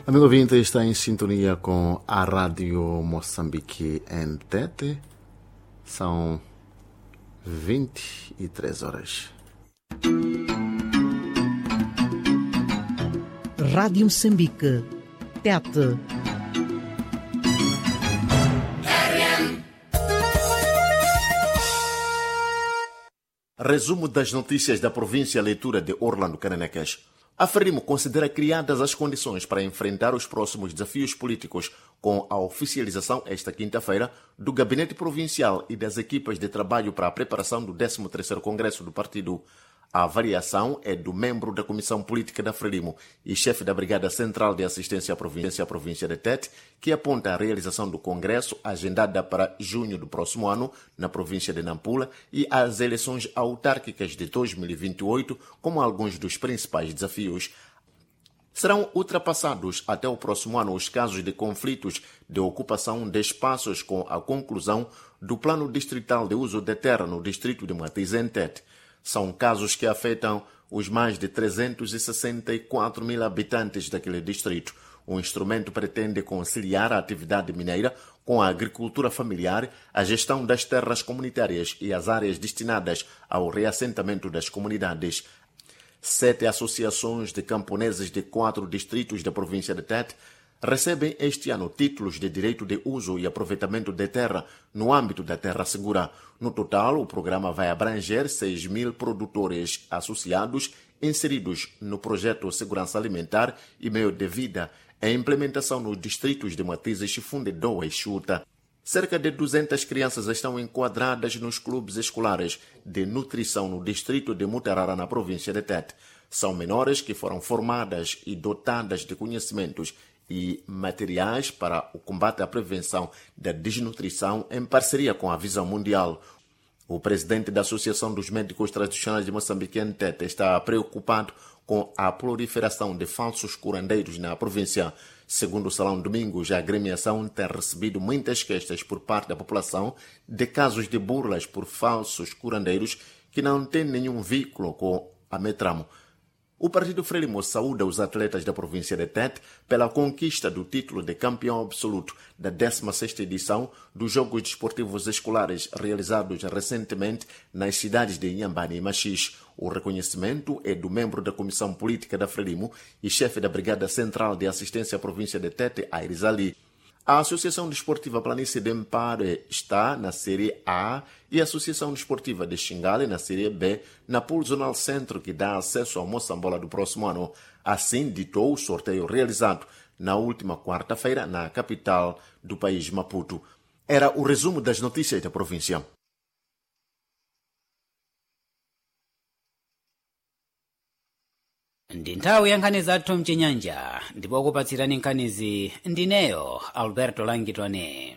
Amigo ouvinte, está em sintonia com a Rádio Moçambique em Tete. São 23 horas. Rádio Moçambique. Tete. Resumo das notícias da província, leitura de Orlando Caneneques. A Frelimo considera criadas as condições para enfrentar os próximos desafios políticos com a oficialização esta quinta-feira do Gabinete Provincial e das equipas de trabalho para a preparação do 13º Congresso do Partido. A avaliação é do membro da Comissão Política da Frelimo e chefe da Brigada Central de Assistência à Província de Tete, que aponta a realização do Congresso agendada para junho do próximo ano na província de Nampula e as eleições autárquicas de 2028 como alguns dos principais desafios. Serão ultrapassados até o próximo ano os casos de conflitos de ocupação de espaços com a conclusão do Plano Distrital de Uso de Terra no distrito de Matiz, em Tete. São casos que afetam os mais de 364 mil habitantes daquele distrito. O instrumento pretende conciliar a atividade mineira com a agricultura familiar, a gestão das terras comunitárias e as áreas destinadas ao reassentamento das comunidades. 7 associações de camponeses de 4 distritos da província de Tete recebem este ano títulos de direito de uso e aproveitamento de terra no âmbito da Terra Segura. No total, o programa vai abranger 6 mil produtores associados inseridos no projeto Segurança Alimentar e Meio de Vida, em implementação nos distritos de Matizes, Chifunde, Doa e Chuta. Cerca de 200 crianças estão enquadradas nos clubes escolares de nutrição no distrito de Mutarara, na província de Tete. São menores que foram formadas e dotadas de conhecimentos e materiais para o combate à prevenção da desnutrição em parceria com a Visão Mundial. O presidente da Associação dos Médicos Tradicionais de Moçambique, em Tete, está preocupado com a proliferação de falsos curandeiros na província. Segundo o Salão Domingos, a agremiação tem recebido muitas queixas por parte da população de casos de burlas por falsos curandeiros que não têm nenhum vínculo com a Metramo. O Partido Frelimo saúda os atletas da província de Tete pela conquista do título de campeão absoluto da 16ª edição dos Jogos Desportivos Escolares realizados recentemente nas cidades de Inhambane e Maxixe. O reconhecimento é do membro da Comissão Política da Frelimo e chefe da Brigada Central de Assistência à Província de Tete, Aires Ali. A Associação Desportiva Planície de Mpare está na Série A e a Associação Desportiva de Xingale na Série B, na Pool Zonal Centro, que dá acesso ao Moçambola do próximo ano. Assim ditou o sorteio realizado na última quarta-feira na capital do país, Maputo. Era o resumo das notícias da província. Ndi nthawi ya nkhani zathu mchinyanja, ndipo kupatsirani nkhanizi ndineyo Alberto Langitone.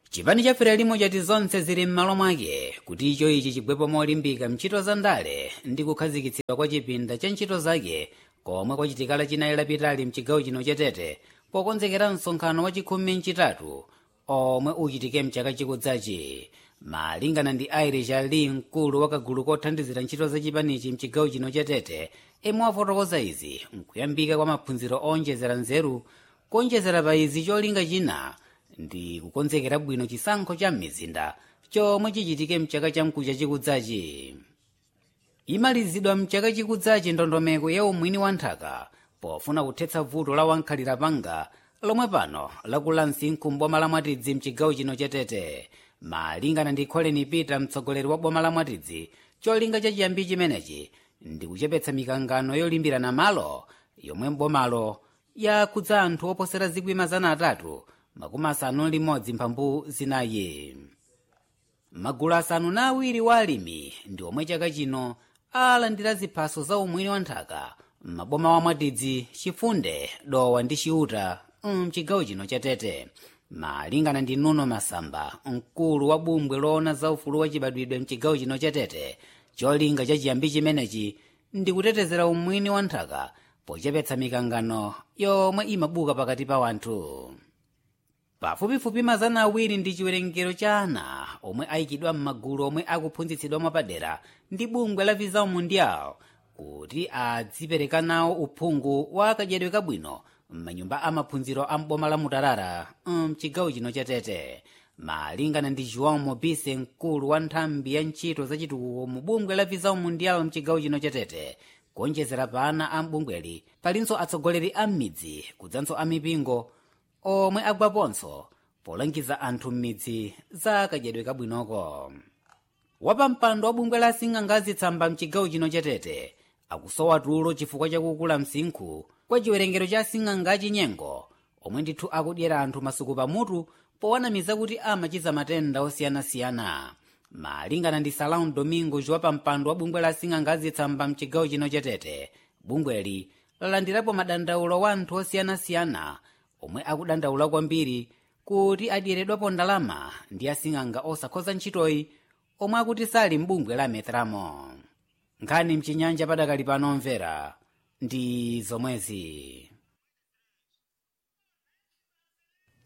Chipani cha Frelimo chati zonse zili m'malo mwake kuti icho ichi chigwepo molimbika mntchito za ndale ndi kukhazikitsidwa kwa chipinda cha ntchito zake komwe kwachitikala chinayi lapitali mchigawo chino cha Tete, pokonzekera msonkhano wa chikhumi mchitatu omwe uchitike mchaka chikudzachi. Malingana ndi Irish Ali, mkulu wa kagulu kothandizira ntchito za chipanichi mchigawo chino cha Tete, emwe wafotokoza izi nkuyambika kwa maphunziro onjezera nzeru. Kuonjezera pa izi, cholinga china ndi kukonzekera bwino chisankho cha m'mizinda chomwe chichitike mchaka chamkucha chikudzachi. Imalizidwa mchaka chikudzachi ndondomeko ya umwini wa nthaka pofuna kuthetsa vuto la wankhalira panga lomwe pano lakula msinkhu m'boma la Mwatidzi mchigawo chino cha Tete. Malingana ndi Colin Peter, mtsogoleri wa boma la Mwatidzi, cholinga chachiyambi chimenechi ndi kuchepetsa mikangano yolimbirana malo yomwe mbomalo yakhudza anthu oposera 361,400. Magulu 7 wa alimi ndi omwe chaka chino alandira ziphaso za umwini wa nthaka m'maboma wa Mwatidzi, Chifunde, Dowa ndi Chiuta mchigawo chino cha Tete. Malingana ndi Nuno Masamba, mkulu wa bungwe loona za ufulu wa chibadwidwe mchigawo chino cha Tete, cholinga chachiyambi chimenechi ndi kutetezera umwini wa nthaka pochepetsa mikangano yomwe imabuka pakati pa wanthu. Pafupifupi 200 ndi chiwerengero cha ana omwe ayikidwa m'magulu omwe akuphunzitsidwa mwapadera ndi bungwe la Visão Mundial kuti adzipereka nawo uphungu wa kadyedwe kabwino. M'manyumba amaphunziro a m'boma la Mutarara mchigawo chino cha Tete. Malingana ndi João Mobise, mkulu wa nthambi ya ntchito zachitukuko mu bungwe la Visão Mundial mchigawo chino cha Tete, kuonjezera pa ana a m'bungweli palinso atsogoleri a m'midzi kudzanso a mipingo omwe agwaponso polangiza anthu m'midzi za kadyedwe kabwinoko. Wapampando wa bungwe la asing'anga tsamba mchigawo chino cha Tete akusowa tulo chifukwa chakukula msinkhu kwa chiwerengero cha asing'anga achinyengo omwe ndithu akudyera anthu masuku pamutu powanamiza kuti amachiza matenda osiyanasiyana. Malingana ndi Salão Domingos, wapampando wa bungwe la asing'anga azitsamba mchigawo chino cha Tete, bungweli lalandirapo madandaulo wa anthu osiyanasiyana omwe akudandaula kwambiri kuti adyeredwapo ndalama ndi asing'anga osakhoza ntchitoyi omwe akuti sali m'bungwe la Metramo. Nkhani mchinyanja padakali pano mvera ndi zomwezi.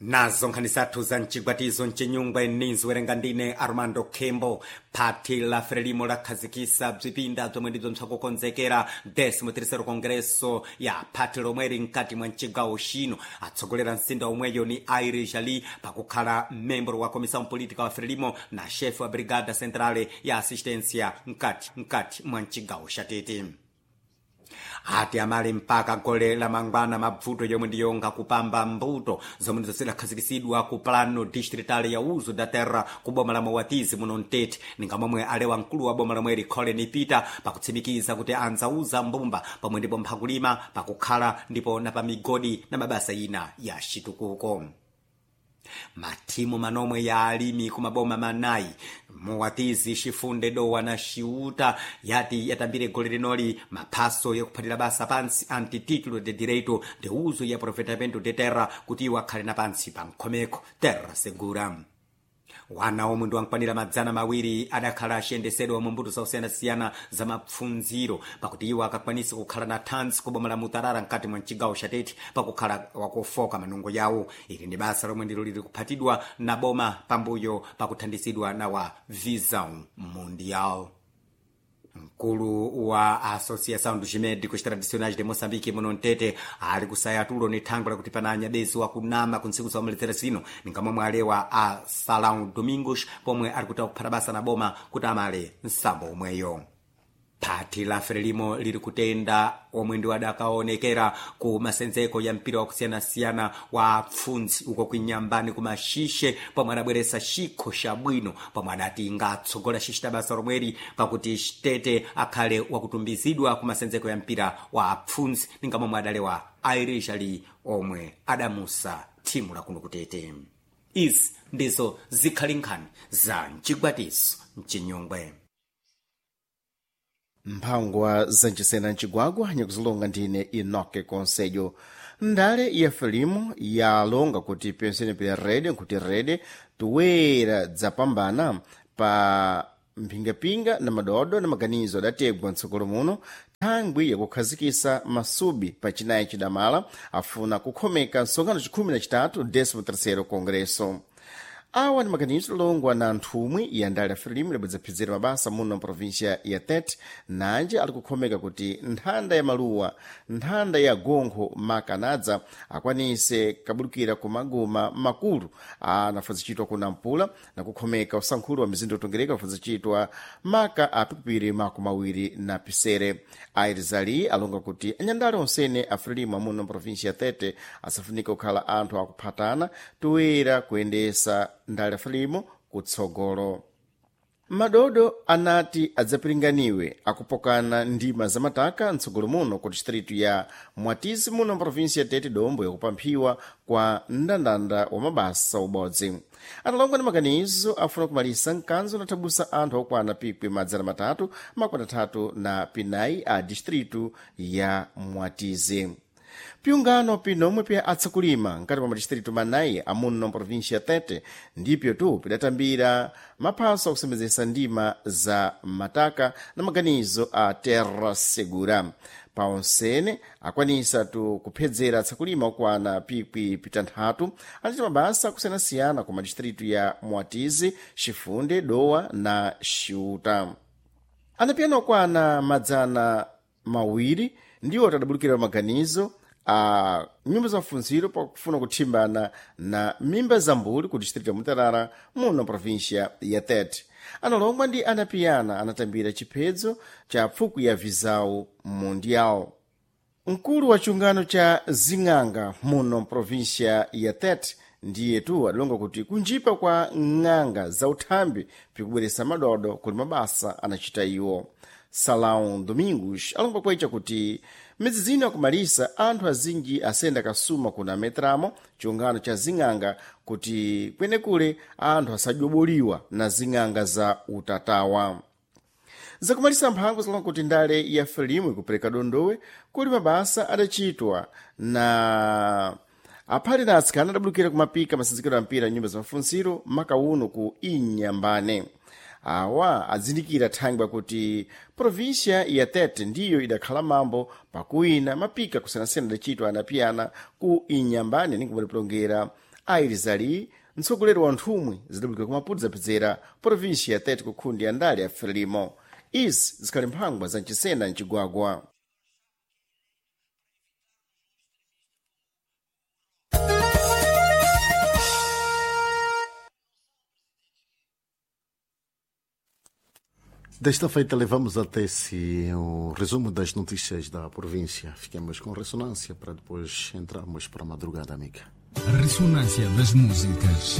Nazo nkhani zathu za mchigwatizo mchinyungwe ninziwerenga ndine Armando Kembo. Phati la Frelimo lakhazikisa bzipinda bzomwe ndibzo mpsakukonzekera 13 Kongreso ya phati lomweri mkati mwa mchigawo chino. Atsogolera msinda omweyo ni Aire Jali, pakukhala membro wa Comissão Política wa Frelimo na chefe wa Brigada Centrale ya Assistência mkati mwa mchigawo cha Tete. Ati amali mpaka gole la mangwana mabvuto yomwe ndiyonga kupamba mbuto zomwe ndizo zidakhazikisidwa ku Plano Distrital ya Uzo da Terra ku boma la Mowatizi muno Mtete, ninga momwe alewa mkulu wa boma lomweri Colin Peter, pakutsimikiza kuti anzauza mbumba pomwe ndipo mphakulima pakukhala ndipo na pa migodi na mabasa ina ya chitukuko. Mathimu manomwe ya alimi kumaboma manayi Muwatizi, Chifunde, Dowa na Ciuta yati yatambire gole linoli maphaso yakuphatira basa pansi antititulo de direito de uso ya aproveitamento de terra kuti iwo akhale na pansi pa nkhomeko terra segura. Wana omwe ndi wankwanira 200 adakhala aciyendesedwa mu mbuto zosiyanasiyana za mapfundziro pakuti iwo akakwanisa kukhala na thanzi ku boma la Mutarara mkati mwa mchigawo cha Tete, pakukhala wakufoka manungo yawo. Ili ndi basa lomwe ndilo lili kuphatidwa na boma pambuyo pakuthandizidwa na wa Visão Mundial. Mkulu wa Associação dos Médicos Tradicionais de Moçambique muno Mtete ali kusaya tulo ni thangwe lakuti pana anyabezi wakunama ku ntsiku za zino, ninga momwe alewa a Salão Domingos pomwe ali kuta kuphata basa na boma kuti amale msambo omweyo. Phati la Frelimo lili kutenda omwe ndi adakaonekera ku masenzeko ya mpira wakusiyanasiyana wa pfundzi uko kuinyambani kumashishe, pomwe adabweresa chikho chabwino pomwe adati ngatsogola xixita basa lomweri pakuti Xitete akhale wakutumbizidwa ku masenzeko ya mpira wa pfundzi, ninga momwe adalewa Airishali omwe adamusa thimu lakuno kutete. Izi ndizo zikhali nkhani za mchigwatiso mchinyungwe. Mphangwa zancisena mcigwagwa nyakuzilonga ndine Enoke Conselho. Ndale ya Frelimo yalonga kuti pensene pa rede nkuti rede toera dzapambana pa mphingapinga na madodo na maganizo adategwa mtsogolo muno thangwi yakukhazikisa masubi pa chinayi chidamala afuna kukhomeka msonkhano chikhumi na chitatu 13º Congresso. Awa ndi maganizo longwa na nthumwi ya ndale ya Frelimo libwedzaphidzira mabasa muno mprovinsia ya Tete, nanje ali kukhomeka kuti nthanda ya maluwa, nthanda ya gonkho makanadza akwanise kabulukira ku maguma makulu anafazicitwa ku Nampula na kukhomeka usankhulu wa mizinda utongereka ufazicitwa maka a pikupiri 27. Airizali alonga kuti anyandale onsene a Frelimo amuno mprovinsia ya Tete asafunika kukhala anthu akuphatana toera kuyendesa ndale Frelimo kutsogolo. Madodo anati adzapiringaniwe akupokana ndima zamataka mtsogolo muno ku distritu ya Mwatizi muno mprovinsi ya Tete, dombo yakupamphiwa kwa mndandanda wa mabasa ubodzi. Atalonga ndi maganizo afuna kumalisa mkanzo nathabusa anthu okwana pikwi 334 a distritu ya Mwatizi. Piungano pinomwe pya atsakulima nkati mwa madistritu manayi amuno mprovinsia ya Tete ndipyo tu pidatambira maphaso akusembedzesa ndima za mataka na maganizo a Terra Segura. Paonsene akwanisa tu kuphedzera atsakulima okwana pikwi pitanthatu anachita mabasa akusiyanasiyana ku madistritu ya Mwatizi, Chifunde, Dowa na Xiuta. Anapiyana okwana 200 ndiwo tadabulukira maganizo. A nyumba za mafunziro pakufuna kuthimbana na mimba za mbuli ku distrito ya Mutarara muno província ya Tete. Analongwa ndi anapiyana anatambira chiphedzo cha pfuku ya Visau Mundial. Mkulu wa chungano cha zing'anga muno província ya Tete ndiyetu adalonga kuti kunjipa kwa ng'anga za uthambi pikubweresa madodo kuli mabasa anachita iwo. Salão Domingos alonga kwecha kuti midzi zino akumalisa anthu azinji asenda kasuma kuna metramo chiungano cha zing'anga kuti kwenekule anthu asadyobuliwa na zing'anga za utatawa. Zakumalisa mphango zalonga kuti ndale ya Frelimo ikupereka dondowe kuli mabasa adachitwa na aphali na atsikana adabulukira kumapika masinzikiro a mpira nyumba za mafunsiro maka uno ku Inyambane. Awa azindikira thangwi kuti província ya Tete ndiyo idakhala mambo pakuwina mapika kusiyanasiyana adachitwa anapiyana ku Inyambane ninkumalipulongera Airizali mtsogoleri wa nthumwi zidabulukira ku Maputo zapezera província ya Tete kukhundi ya ndale ya Frelimo. Izi zikhali mphangwa za mchisena mcigwagwa. Desta feita levamos até si o resumo das notícias da província. Fiquemos com ressonância para depois entrarmos para a madrugada, amiga. Ressonância das músicas.